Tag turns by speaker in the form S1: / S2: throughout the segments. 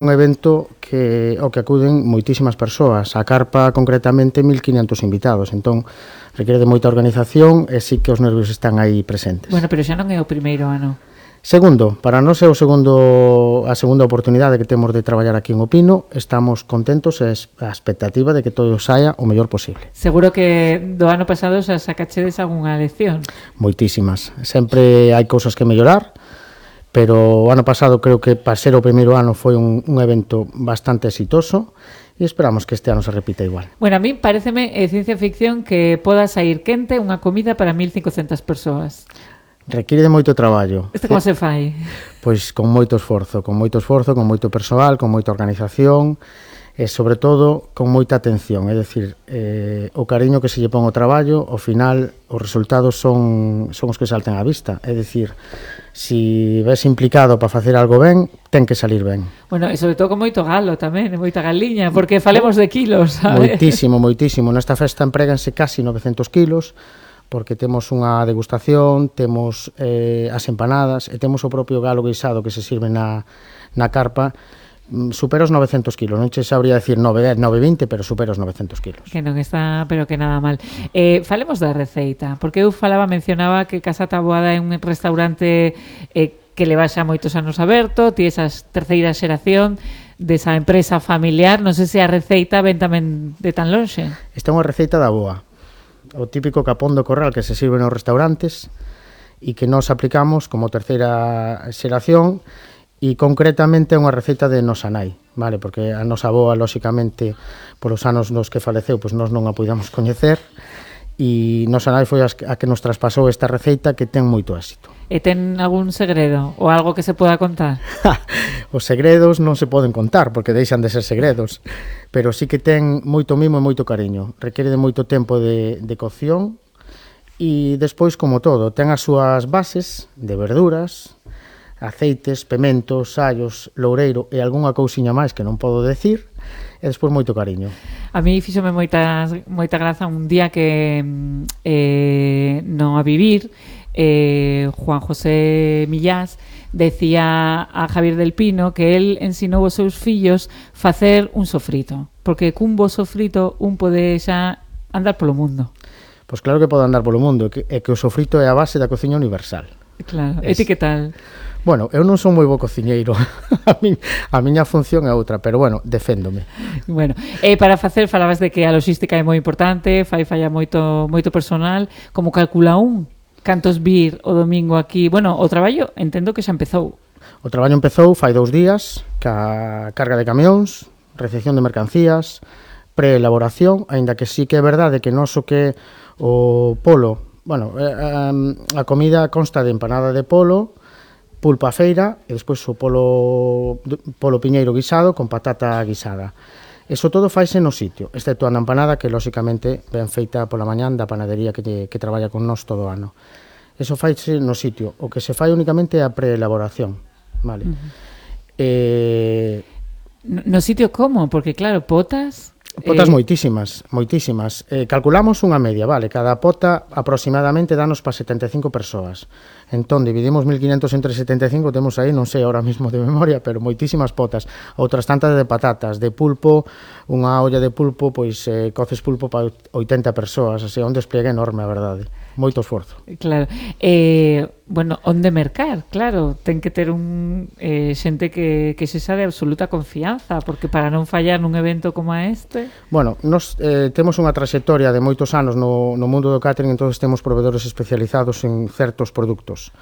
S1: un evento ao que acuden moitísimas persoas. A carpa, concretamente, 1.500 invitados. Entón, requiere de moita organización e sí que os nervios están aí presentes.
S2: Bueno, pero xa non é o primeiro ano.
S1: Segundo, para nós é a segunda oportunidade que temos de traballar aquí en Opino. Estamos contentos e a expectativa de que todo saia o mellor posible.
S2: Seguro que do ano pasado xa sacachedes algunha lección.
S1: Moitísimas. Sempre hai cousas que mellorar, pero o ano pasado creo que para ser o primeiro ano foi un evento bastante exitoso e esperamos que este ano se repita igual.
S2: Bueno, a mí pareceme ciencia ficción que poda sair quente unha comida para 1.500 persoas.
S1: Requiere de moito traballo.
S2: Como se fai?
S1: Pois con moito esforzo, con moito persoal, con moita organización e, sobre todo, con moita atención. É dicir, o cariño que se lle pon ao traballo, ao final, os resultados son os que salten á vista. É dicir, si ves implicado para facer algo ben, ten que salir ben.
S2: Bueno, e sobre todo con moito galo tamén, moita galiña, porque falemos de kilos, sabes?
S1: Moitísimo. Nesta festa empréganse casi 900 kilos, porque temos unha degustación, temos as empanadas e temos o propio galo guisado que se sirve na carpa. Supera os 900 kilos, non che sabría decir 910, 920, pero supera os 900 kilos.
S2: Que non está, pero que nada mal. Falemos da receita, porque eu mencionaba que Casa Taboada é un restaurante que leva xa moitos anos aberto, ti esa terceira xeración desa empresa familiar, non sei se a receita ven tamén de tan lonxe.
S1: Esta é unha receita da boa. O típico capón do corral que se sirve nos restaurantes e que nos aplicamos como terceira xeración e concretamente é unha receita de nosa nai, vale? Porque a nosa avoa, lóxicamente, polos anos nos que faleceu, pois nós non a puidamos coñecer e nosa nai foi a que nos traspasou esta receita que ten moito éxito.
S2: E ten algún segredo ou algo que se poda contar?
S1: Os segredos non se poden contar porque deixan de ser segredos, pero sí que ten moito mimo e moito cariño. Requiere de moito tempo de cocción e despois, como todo, ten as súas bases de verduras, aceites, pementos, allos, loureiro e algunha cousiña máis que non podo decir, e despois moito cariño.
S2: A mí fíxome moita graza un día que non a vivir, Juan José Millás decía a Javier del Pino que él ensinou aos seus fillos facer un sofrito, porque cun bo sofrito un pode xa andar polo mundo.
S1: Pois claro que pode andar polo mundo, e que o sofrito é a base da cociña universal.
S2: Claro, e ti que tal?
S1: Bueno, eu non son moi bo cociñeiro, a miña función é outra, pero bueno, deféndome.
S2: Bueno, para facer, falabas de que a logística é moi importante, falla moito personal, como calcula cantos vir o domingo aquí? Bueno, o traballo entendo que xa empezou.
S1: O traballo empezou fai 2 días, ca carga de camións, recepción de mercancías, preelaboración, aínda que sí que é verdade que noso que o polo, bueno, a comida consta de empanada de polo, pulpo a feira e despois o polo piñeiro guisado con patata guisada. Eso todo faise no sitio, excepto a empanada que, lóxicamente, ben feita pola mañán da panadería que traballa con nós todo o ano. Eso faise no sitio. O que se fai únicamente é a preelaboración, vale?
S2: No sitio como? Porque, claro, potas...
S1: Potas moitísimas. Calculamos unha media, vale? Cada pota aproximadamente danos para 75 persoas. Entón, dividimos 1.500 entre 75, temos aí, non sei ahora mismo de memoria, pero moitísimas potas. Outras tantas de patatas, de pulpo, unha olla de pulpo, pois coces pulpo para 80 persoas, así, un despliegue enorme, a verdade. Moito esforzo.
S2: Claro. Bueno, onde mercar, claro, ten que ter xente que se xa de absoluta confianza, porque para non fallar nun evento como este...
S1: Bueno, nos temos unha traxectoria de moitos anos no mundo do catering, entón temos proveedores especializados en certos produtos.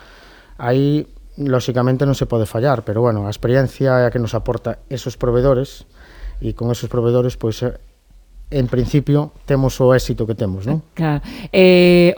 S1: Aí, lóxicamente, non se pode fallar, pero, bueno, a experiencia é a que nos aporta esos proveedores, e con esos proveedores, pois, en principio, temos o éxito que temos, non?
S2: Claro.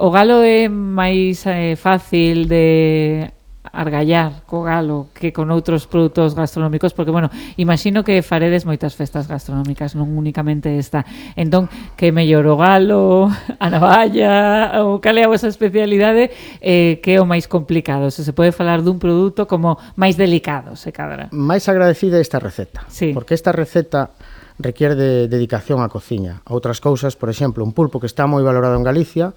S2: O galo é máis fácil de argallar co galo que con outros produtos gastronómicos, porque, bueno, imagino que faredes moitas festas gastronómicas, non únicamente esta. Entón, que mellor o galo, a navalla, ou cal é a vosa especialidade, que é o máis complicado? Se pode falar dun produto como máis delicado, se cadra.
S1: Máis agradecida esta receta,
S2: sí.
S1: Porque esta receta requiere de dedicación á cociña. Outras cousas, por exemplo, un pulpo que está moi valorado en Galicia,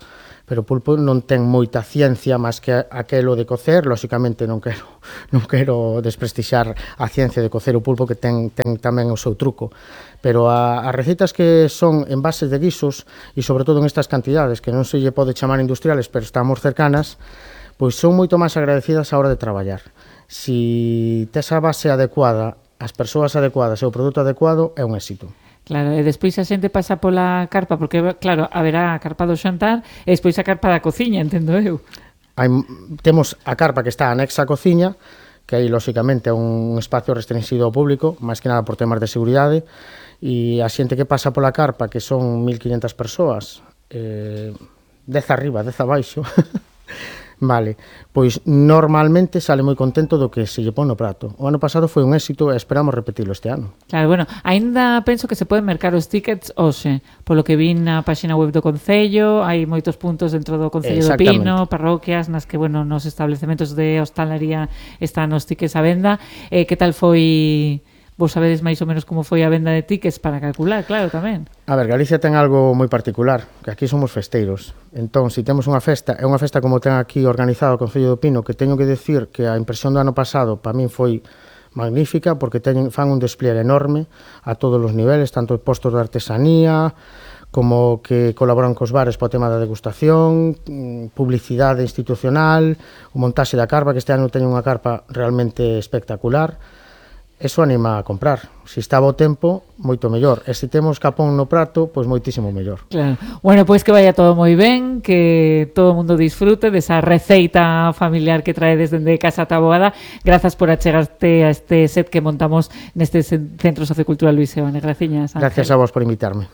S1: pero o pulpo non ten moita ciencia máis que aquelo de cocer. Lóxicamente non quero desprestixar a ciencia de cocer o pulpo, que ten tamén o seu truco, pero as recetas que son en bases de guisos, e sobre todo en estas cantidades que non se lle pode chamar industriales, pero estamos cercanas, pois son moito máis agradecidas a hora de traballar. Si tes a base adecuada, as persoas adecuadas e o produto adecuado, é un éxito.
S2: Claro, e despois a xente pasa pola carpa, porque, claro, haberá a carpa do xantar e despois a carpa da cociña, entendo eu.
S1: Temos a carpa que está anexa á cociña, que aí, lóxicamente, é un espacio restringido ao público, máis que nada por temas de seguridade, e a xente que pasa pola carpa, que son 1.500 persoas, 10 arriba, 10 abaixo, vale, pois normalmente sale moi contento do que se lle pon no prato. O ano pasado foi un éxito e esperamos repetilo este ano.
S2: Claro, bueno, aínda penso que se poden mercar os tickets hoxe, polo que vi na páxina web do Concello, hai moitos puntos dentro do Concello do Pino, parroquias nas que, bueno, nos establecementos de hostalería están os tickets a venda. Que tal foi... Vos sabedes máis ou menos como foi a venda de tickets para calcular, claro, tamén.
S1: A ver, Galicia ten algo moi particular, que aquí somos festeiros. Entón, se temos unha festa, é unha festa como ten aquí organizado o Concello do Pino, que teño que decir que a impresión do ano pasado para min foi magnífica, porque fan un despliegue enorme a todos os niveles, tanto postos de artesanía, como que colaboran cos bares para o tema da degustación, publicidade institucional, o montaxe da carpa, que este ano teño unha carpa realmente espectacular. Eso anima a comprar. Se está bo tempo, moito mellor. E se temos capón no prato, pois moitísimo mellor.
S2: Claro. Bueno, pois que vaya todo moi ben, que todo o mundo disfrute desa receita familiar que traedes dende Casa Taboada. Grazas por achegarte a este set que montamos neste Centro Sociocultural Luis Seoane. Graciñas, Ángel.
S1: Gracias a vos por invitarme.